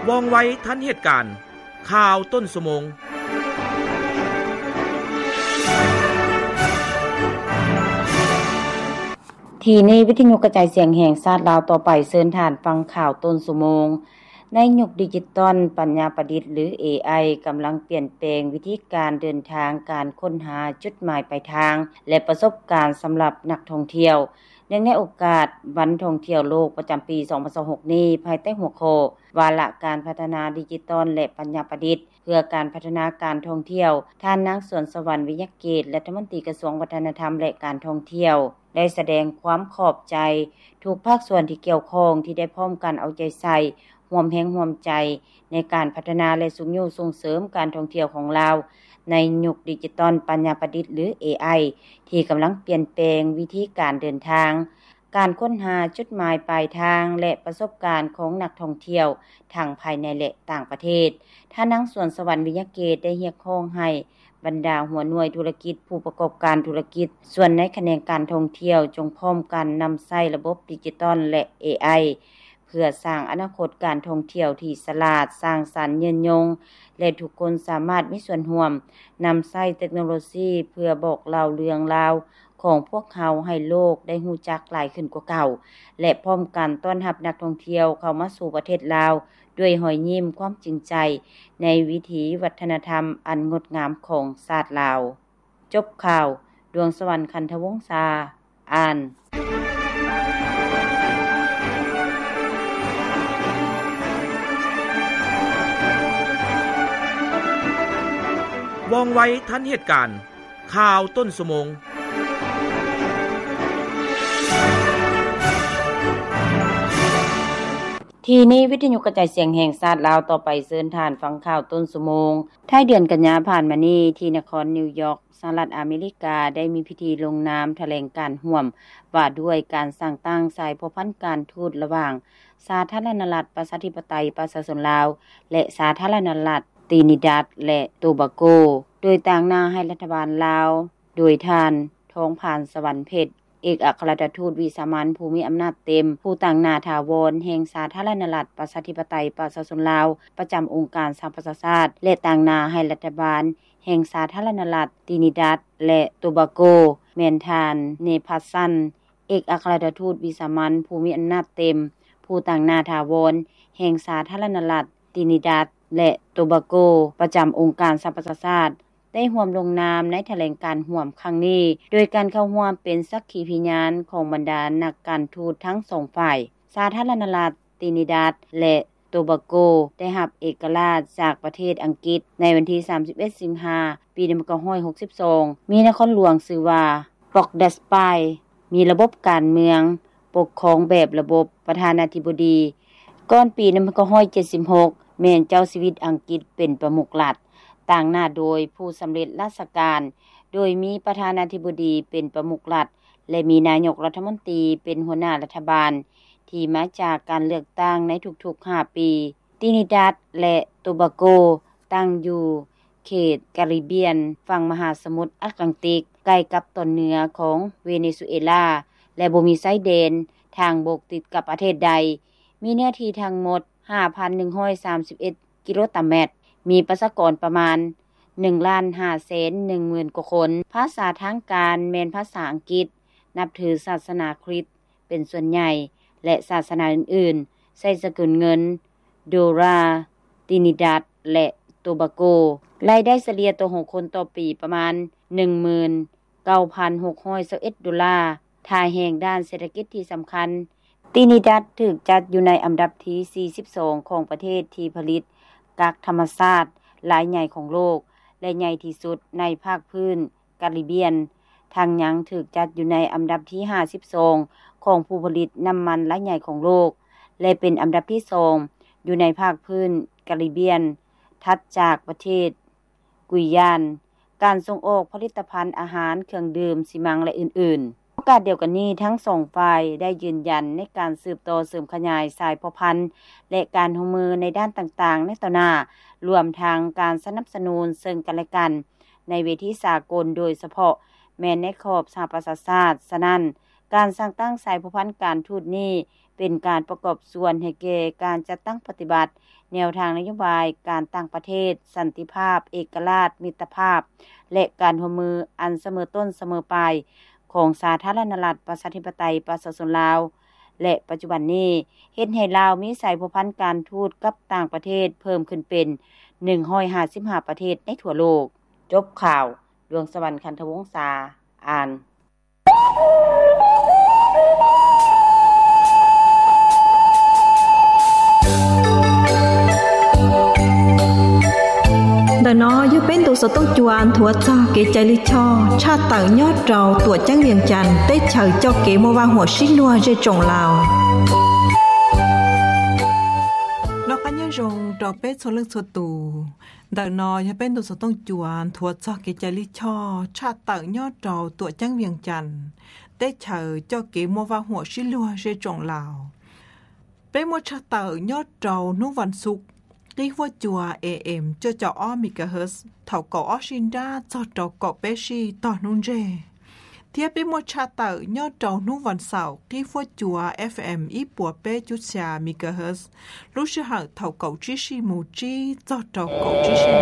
ວ່ອງໄວທັນເຫດການ. ຂ່າວຕົ້ນຊົ່ວໂມງ. ທີ່ນີ້ ວິທະຍຸກະຈາຍສຽງແຫ່ງຊາດລາວ ຕໍ່ໄປເຊີນທ່ານຟັງຂ່າວຕົ້ນຊົ່ວໂມງ. ໃນຍຸກດິຈິຕອນ ປັນຍາປະດິດ ຫຼື ເອໄອ ກຳລັງປ່ຽນແປງວິທີການເດີນທາງ, ການຄົ້ນຫາຈຸດໝາຍປາຍທາງ ແລະ ປະສົບການສຳລັບນັກທ່ອງທ່ຽວ. ເນື່ອງໃນໂອກາດວັນທ່ອງທ່ຽວໂລກປະຈຳປີສອງພັນຊາວຫົກນີ້, ພາຍໃຕ້ຫົວຂໍ້ ວາລະການພັດທະນາດິຈິຕອນ ແລະ ປັນຍາປະດິດ ເພື່ອການພັດທະນາການທ່ອງທ່ຽວ, ທ່ານນາງ ສວນສະຫວັນ ວິຍະເກດ ລັດຖະມົນຕີກະຊວງວັດທະນະທຳ ແລະ ການທ່ອງທ່ຽວ ໄດ້ສະແດງຄວາມຂອບໃຈທຸກພາກສ່ວນທີ່ກ່ຽວຂ້ອງ ທີ່ໄດ້ພ້ອມກັນເອົາໃຈໃສ່, ຮ່ວມແຮງຮ່ວມໃຈໃນການພັດທະນາ ແລະ ຊຸກຍູ້ສົ່ງເສີມການທ່ອງທ່ຽວຂອງລາວ ໃນຍຸກດິຈິຕອນ ປັນຍາປະດິດ ຫຼື ເອໄອ ທີ່ກຳລັງປ່ຽນແປງວິທີການເດີນທາງ, ການຄົ້ນຫາຈຸດໝາຍປາຍທາງ ແລະ ປະສົບການຂອງນັກທ່ອງທ່ຽວ ທັງພາຍໃນ ແລະ ຕ່າງປະເທດ. ທ່ານນາງ ສວນສະຫວັນ ວິຍະເກດ ໄດ້ຮຽກຮ້ອງໃຫ້ບັນດາຫົວໜ່ວຍທຸລະກິດ, ຜູ້ປະກອບການທຸລະກິດ, ສ່ວນໃນຂະແໜງການທ່ອງທ່ຽວ ຈົ່ງພ້ອມກັນນຳໃຊ້ລະບົບດິຈິຕອນ ແລະ ເອໄອ ເພື່ອສ້າງອະນາຄົດການທ່ອງທ່ຽວທີ່ສະຫຼາດ, ສ້າງສັນ, ຍືນຍົງ ແລະ ທຸກຄົນສາມາດມີສ່ວນຮ່ວມນຳໃຊ້ເຕັກໂນໂລຊີ ເພື່ອບອກເລົ່າເລື່ອງລາວຂອງພວກເຮົາໃຫ້ໂລກໄດ້ຮູ້ຈັກຫຼາຍຂຶ້ນກວ່າເກົ່າ ແລະ ພ້ອມກັນຕ້ອນຮັບນັກທ່ອງທ່ຽວເຂົ້າມາສູ່ປະເທດລາວດ້ວຍຮອຍຍິ້ມ, ຄວາມຈິງໃຈໃນວິຖີວັດທະນະທຳອັນງົດງາມຂອງຊາດລາວ. ຈົບຂ່າວ. ດວງສະຫວັນ ຄັນທະວົງສາ ອ່ານ. ວ່ອງໄວທັນເຫດການ. ຂ່າວຕົ້ນຊົ່ວໂມງ. ທີ່ນີ້ ວິທະຍຸກະຈາຍສຽງແຫ່ງຊາດລາວ ຕໍ່ໄປເຊີນທ່ານຟັງຂ່າວຕົ້ນຊົ່ວໂມງ. ທ້າຍເດືອນກັນຍາຜ່ານມານີ້ ທີ່ນະຄອນນິວຢອກ ສະຫະລັດອາເມລິກາ ໄດ້ມີພິທີລົງນາມຖະແຫຼງການຮ່ວມວ່າດ້ວຍການສ້າງຕັ້ງສາຍພົວພັນການທູດລະຫວ່າງສາທາລະນະລັດປະຊາທິປະໄຕປະຊາຊົນລາວ ແລະ ສາທາລະນະລັດ ຕີນີດັດ ແລະ ໂຕບາໂກ ໂດຍຕາງໜ້າໃຫ້ລັດຖະບານລາວ ໂດຍທ່ານ ທອງຜານ ສະຫວັນເພັດ ເອກອັກຄະລັດຖະທູດວິສາມັນຜູ້ມີອຳນາດເຕັມ ຜູ້ຕາງໜ້າຖາວອນແຫ່ງສາທາລະນະລັດປະຊາທິປະໄຕປະຊາຊົນລາວ ປະຈຳອົງການສະຫະປະຊາຊາດ ແລະ ຕາງໜ້າໃຫ້ລັດຖະບານແຫ່ງສາທາລະນະລັດຕີນີດັດ ແລະ ໂຕບາໂກ ແມ່ນທ່ານ ເນພັດຊັນ ເອກອັກຄະລັດຖະທູດວິສາມັນຜູ້ມີອຳນາດເຕັມ ຜູ້ຕາງໜ້າຖາວອນແຫ່ງສາທາລະນະລັດຕີນີດັດ ແລະ ໂຕບາໂກ ປະຈຳອົງການສະຫະປະຊາຊາດ ໄດ້ຮ່ວມລົງນາມໃນຖະແຫຼງການຮ່ວມຄັ້ງນີ້ ໂດຍການເຂົ້າຮ່ວມເປັນສັກຂີພິຍານຂອງບັນດານັກການທູດທັງສອງຝ່າຍ. ສາທາລະນະລັດຕີນີດັດ ແລະ ໂຕບາໂກ ໄດ້ຮັບເອກະລາດຈາກປະເທດອັງກິດໃນວັນທີສາມສິບເອັດ ສິງຫາ ປີໜຶ່ງພັນເກົ້າຮ້ອຍຫົກສິບສອງ ມີນະຄອນຫຼວງຊື່ວ່າ Port-au-Prince, ມີລະບົບການເມືອງປົກຄອງແບບລະບົບປະທານາທິບໍດີ. ກ່ອນປີໜຶ່ງພັນເກົ້າຮ້ອຍເຈັດສິບຫົກ ແມ່ນເຈົ້າຊີວິດອັງກິດເປັນປະມຸກລັດ, ຕາງໜ້າໂດຍຜູ້ສຳເລັດລາຊະການ, ໂດຍມີປະທານາທິບໍດີເປັນປະມຸກລັດ ແລະ ມີນາຍົກລັດຖະມົນຕີເປັນຫົວໜ້າລັດຖະບານ ທີ່ມາຈາກການເລືອກຕັ້ງໃນທຸກໆຫ້າປີ. ຕີນີດັດ ແລະ ໂຕບາໂກ ຕັ້ງຢູ່ເຂດກາຣິບຽນ ຝັ່ງມະຫາສະໝຸດອັດລັນຕິກ, ໃກ້ກັບຕອນເໜືອຂອງເວເນຊູເອລາ ແລະ ບໍ່ມີຊາຍແດນທາງບົກຕິດກັບປະເທດໃດ, ມີເນື້ອທີ່ທັງໝົດຫ້າພັນໜຶ່ງຮ້ອຍສາມສິບເອັດກິໂລຕາແມັດ, ມີປະຊາກອນປະມານໜຶ່ງລ້ານຫ້າແສນໜຶ່ງໝື່ນກວ່າຄົນ. ພາສາທາງການແມ່ນພາສາອັງກິດ, ນັບຖືສາສະໜາຄຣິດເປັນສ່ວນໃຫຍ່ ແລະ ສາສະໜາອື່ນໆ ໃຊ້ສະກຸນເງິນໂດລາ, ຕີນີດັດ ແລະ ໂຕບາໂກ. ລາຍໄດ້ສະເລ່ຍຕໍ່ຫົວຄົນຕໍ່ປີປະມານໜຶ່ງໝື່ນເກົ້າພັນຫົກຮ້ອຍຊາວເອັດໂດລາ. ທ່າແຮງດ້ານເສດຖະກິດທີ່ສຳຄັນ, ຕີນີດັດຖືກຈັດຢູ່ໃນອັນດັບທີສີ່ສິບສອງຂອງປະເທດທີ່ຜະລິດກັກທຳມະຊາດລາຍໃຫຍ່ຂອງໂລກ ແລະ ໃຫຍ່ທີ່ສຸດໃນພາກພື້ນກາຣິບຽນ, ທັງຍັງຖືກຈັດຢູ່ໃນອັນດັບທີຫ້າສິບສອງຂອງຜູ້ຜະລິດນ້ຳມັນລາຍໃຫຍ່ຂອງໂລກ ແລະ ເປັນອັນດັບທີສອງຢູ່ໃນພາກພື້ນກາຣິບຽນ, ຖັດຈາກປະເທດ ກຸຍຢານ, ການສົ່ງອອກຜະລິດຕະພັນອາຫານ, ເຄື່ອງດື່ມ, ຊີມັງ ແລະ ອື່ນໆ. ໂອກາດດຽວກັນນີ້, ທັງສອງຝ່າຍໄດ້ຢືນຢັນໃນການສືບຕໍ່ເສີມຂະຫຍາຍສາຍພົວພັນ ແລະ ການຮ່ວມມືໃນດ້ານຕ່າງໆໃນຕໍ່ໜ້າ, ລວມທັງການສະໜັບສະໜູນເຊິ່ງກັນແລະກັນໃນເວທີສາກົນ, ໂດຍສະເພາະແມ່ນໃນຂອບສະຫະປະຊາຊາດ. ສະນັ້ນ, ການສ້າງຕັ້ງສາຍພົວພັນການທູດນີ້ ເປັນການປະກອບສ່ວນໃຫ້ແກ່ການຈັດຕັ້ງປະຕິບັດແນວທາງນະໂຍບາຍການຕ່າງປະເທດ, ສັນຕິພາບ, ເອກະລາດ, ມິດຕະພາບ ແລະ ການຮ່ວມມືອັນສະເໝີຕົ້ນສະເໝີປາຍຂອງສາທາລະນະລັດ ປະຊາທິປະໄຕ ປະຊາຊົນລາວ ແລະ ປັດຈຸບັນນີ້ ເຮັດໃຫ້ລາວມີສາຍພົວພັນການທູດກັບຕ່າງປະເທດເພີ່ມຂຶ້ນເປັນ ໜຶ່ງຮ້ອຍຫ້າສິບຫ້າ ປະເທດໃນທົ່ວໂລກ. ຈົບຂ່າວ, ດວງສະຫວັນ ຄັນທະວົງສາ ອ່ານ. ເດີນໍ ຍາເປັນຕູສະຕົງຈວນ ຖົວຈອກເກໃຈລິຊໍ ຊາດເຕົາຍອດເຕົາ ຕົວະຈັງວຽງຈັນ ເຕະເຊົາຈອກເກມົວວາຫົວຊີຫຼວງ ເຈຈົງລາວ. ນອກກັນຍາຊົງ ເຕົາເປໂຊເລິງໂຊຕູ ເດີນໍ ຍາເປັນຕູສະຕົງຈວນ ຖົວຈອກເກໃຈລິຊໍ ຊາດເຕົາຍອດເຕົາ ຕົວະຈັງວຽງຈັນ ເຕະເຊົາຈອກເກມົວວາຫົວຊີຫຼວງ ເຈຈົງລາວ. ເປມົວຊາດເຕົາຍອດເຕົາ ນຸວັນສຸກ ກີຫົວຈົວ ເອເອັມ ຈົວຈອອ ເມກາເຮີດ ເຖົາເກົາອອກຊິນດາ ຈອກເຕົາເກົາເປຊີ ຕໍ່ນຸນເຈ. ທຽບເປມົວຊາດເຕົາຍອດເຕົາ ນຸວັນເສົາ ກີຫົວຈົວ ເອັຟເອັມ ອີ່ປົວເປຈຸດສາມ ເມກາເຮີດ ລຸຊາເຫີ ເຖົາເກົາຈີຊີ ໝູຈີ ຈອກເຕົາເກົາຈີຊີ